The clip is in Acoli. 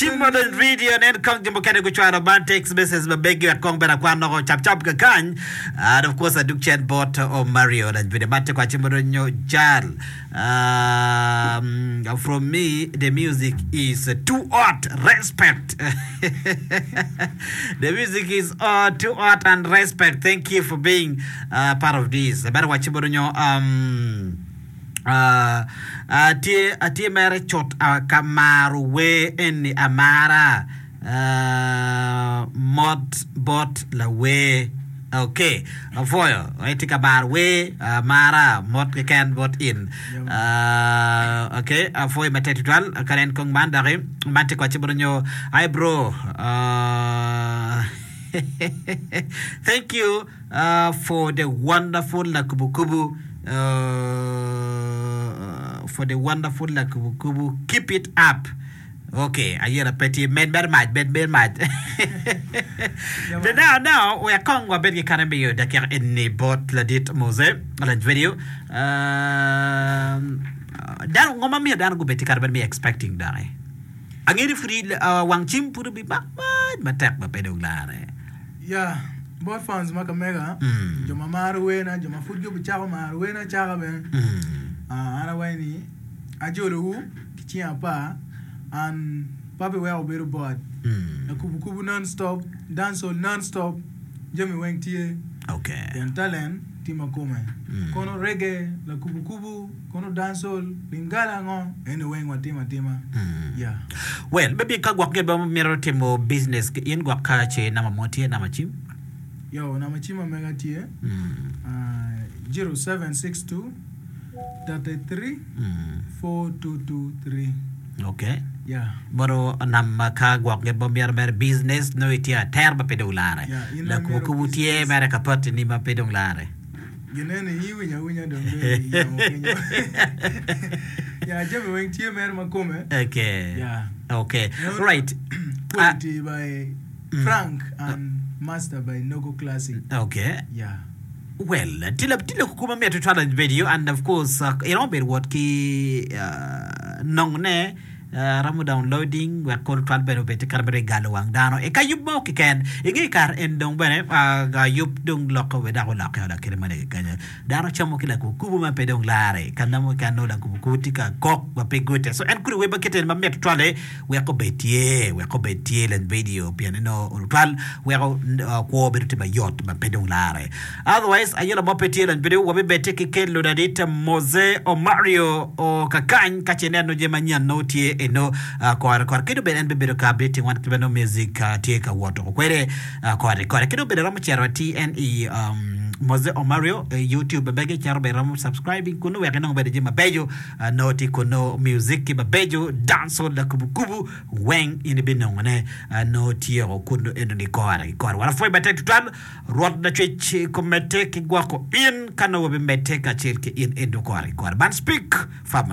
Tim ma dong video nen kong jo mukene gucwalo man text message ma megi wek kong bene akwan loko cap cap kakany and of course aduk cen bot Omario lany video man tye kwace ma dong nyo jal um, from me the music is too hot respect the music is uh, too hot and respect thank you for being uh, part of this bene wace ma dong nyo um, Atye atye mere cut ka maro wer eni amara mot bot lawer ok apwoyo itye ka maro wer amara mot keken bot in ok apwoyo matek tutwal ka nen kong man doki man tye kwaci bot nyo hi bro thank you. For the wonderful lakubukubu For the wonderful lakubukubu Keep it up Ok, ayela pe tye med mere mac med mere mac The now now wek kong wabed ki kare miyo dakika eni bot ladit Mose Lany video Dano ngo ma miyo dano gubed ki kare me expecting doki Angeyo ni pudi wang cim pud obimak mac matek ma pe dong lare. Ya, bot fans ma ka mega, jo ma maro werna, jo ma pud gibicako maro werna acaka bene, an awaco ni ajolowu ki cing apar, and pe abiweko wubedo bored. Akubo kubo non stop, dancehall non stop, jami weng tye, pien talent tye ma kome. Kono reggae, lakubo kubo. Kono dancehall, lingala ngo, eni weng watimo atima. Yeah. Well, maybe ka gwok gin ma mito timo business ki in gwok ka ce namba mo tye, namba cim? Yo, namba cim ma mega tye, ah, 0762 33 4223. Okay. Yeah. Mono namba ka gwok gin ma myero mere business nongo itye atera ma pe dong lare. Yeah, in ma Lakubo imito kubo tye business. mere ka pati ni ma pe dong lare. Ginene in iwinyo awinya dong dong i yamo kenyo. Ya jami weng tye mere ma kome. Okay. Ya. Okay. Eno Right. Quality by Frank and Master by Nogo Classic. Okay. Ya. Well, tye lok tye lok kwo ma mit tutwal i video and of course uh, iromo bedo wot ki uh, nongone Aromo downloading wek kor twal bene obed kare mere galo wang dano i ka yub mo keken. Inge kare en dong bene yub dong loko we dok olokke olok kite ma legi kenyo. Dano camo ki lakubu kubu ma pe dong lare. Ka namo ka nongo lakubu kubu tye ka kok ma pe gute. So en kudi wer ma kite eni ma mit tutwal-li wek obed tye, wek obed tye lany video pien ni nongo tutwal weko kwo bedo tye mayot ma pe dong lare. Otherwise ayela mo pe tye lony bedo wabibedde ki kelo ladit Mose Omario o kakany ka ce ineno jami manyen nongo tye eno kore kore kadi obed en bibedo ka updating wan kit ma nongo music tye ka wot kwede kore kore kadi obedo romo cito atir en i Mose Omario i YouTube mege cito bene romo subscribing kunu wek inong bene jami mabeco nongo tye kunu music ki mabeco dancehall lakubukubu weng in ibinongone nongo tye kunu enoni kore ki kore. Wan wapwoyo matek tutwal. Rwot Lacwec komedde ki gwoko in ka nongo wabimedde kacel ki in ento kore ki kore. Man Speak Farmer.